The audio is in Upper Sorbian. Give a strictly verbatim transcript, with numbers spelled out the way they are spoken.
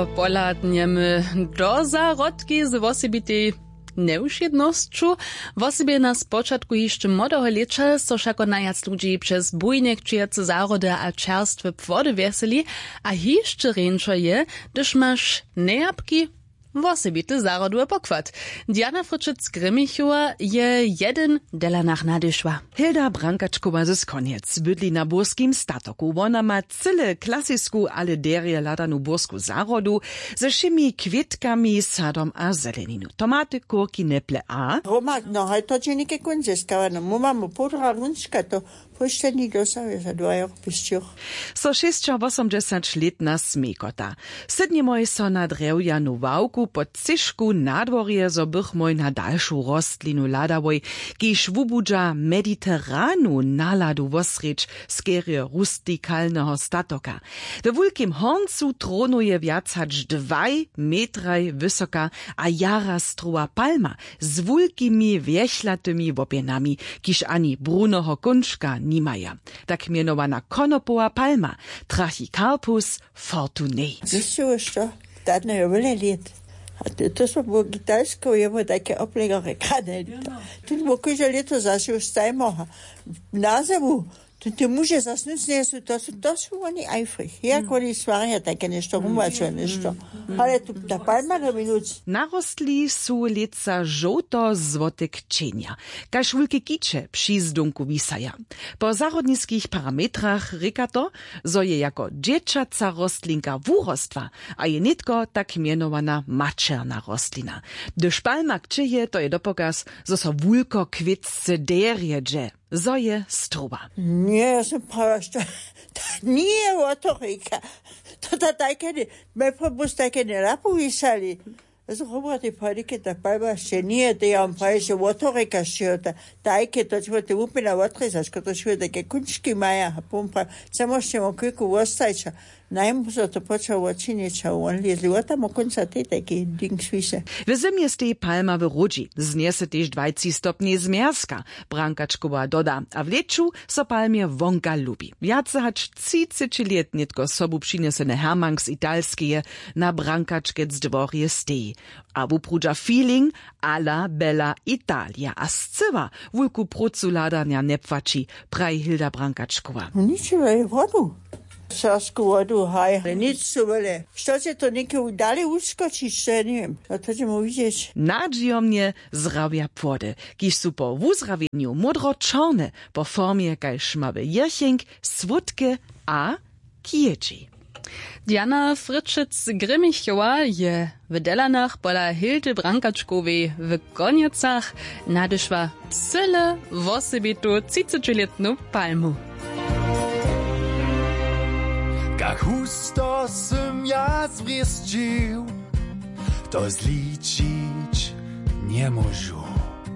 Pohladnjemy do zahrodki z wosebitej njewšědnosću. Wosebje na spočatku hišće młodeho lěća so wšako najwjac ludźi přez bujnje kćějace zahrody a čerstwe płody wjeseli. A hišće rjeńšo je, hdyž maš njejapki wosebity zahrodowy pokład. Diana Frytšec-Grimmichowa je jedyn delanach nadešła. Hilda Brankačkowa z Konjec bydli na burskim statoku. Wona ma cyle klasisku ale derje hladanu bursku zahrodu, ze wšěmi kwětkami, sadom a zeleninu, tomaty, kurki, neple a Roma, no haj to dźe něke kónc zeskała, no mu mamy połdra runčka, to póšćeni dosahuje za dwa jor pěsćoch. So šěsćawosomdźesać lětna smjejkota. Sydnjemoj so na drjewjanu ławku pod cyšku na dworje, zo bychmoj na dalšu rostlinu hladałoj, kiž wubudźa mediteranu naladu wosrjedź skerje rustikalneho statoka. We wulkim horncu tronuje wjac hač dwaj metraj wysoka a jara strowa palma z wulkimi wjechlatymi łopjenami, kiž ani bruneho kónčka nimaja. Tak mjenowana konopowa palma, Trachycarpus fortunei. Zjisćiłeś to? Dadno je wjele lět. A to, to so było gitalsko, je było take oplegere krane. Tu było kóžde lěto zašło stajmoha na zimu. Tu te muže zasnucnje su, to su, to su oni eifrich. Jak oni stwarja take něšto, rumačo něšto. Ale tu ta palma do minuc. Narostli su lětsa žołto złote kćenja, kaž wulke kiće při zdónku wisaja. Po zahrodniskich parametrach rěka to, zo je jako dźěćaca rostlinka wurostła a je nětko tak mjenowana maćerna rostlina. Hdyž palma kćěje, to je dopokaz, zo so wulkokwětce derje dźe, zo je strowa. Ně, ja sam prawa što, to nije wotorika. To ta tajke, me pobus tajke nje napowisali. Zhruba tej pady, ke ta palba sće nije, te ja wam prawił, že wotorika sćeho ta, tajke, to ćemo te wupjena wotrězaš, ko to sćeho, tajke kónčki maja, a pom prawił, chcemo sćemo kwěku wostajća. Najmu so to počało wočinić a won lězli wotamo kónca tej tajki ding swiše. W zymje steji palma w ródźi, znjese tež dwajci stopni zmjerzka, Brankačkowa doda, a w lěću so palmje wonka lubi. Wjace hač třiceći lět nětko sobu přinjeseny hermank z Italskeje na Brankačkec dworje steji a wuprudźa feeling a la bella Italia a scyła wulku prócu hladanja njepłaći, praji Hilda Brankačkowa. Ničewa je wodu. Serbsku wodu, haj, ale nic su wjele. Što će to něke dale wuskočić, to ja njewěm. A to ćemo widźeć. Nadźijomnje zrawja płody, kiž su po wuzrawjenju módro-čorne, po formje kaž mały jěrcheń, słódke a kjědźi. Diana Frytšec-Grimmichowa je w Delanach pola Hildy Brankačkowej w Konjecach nadyšła cyle wosebitu třicećilětnu palmu. Kak husto sym ja zwrěsćił, to zličić njemóžu.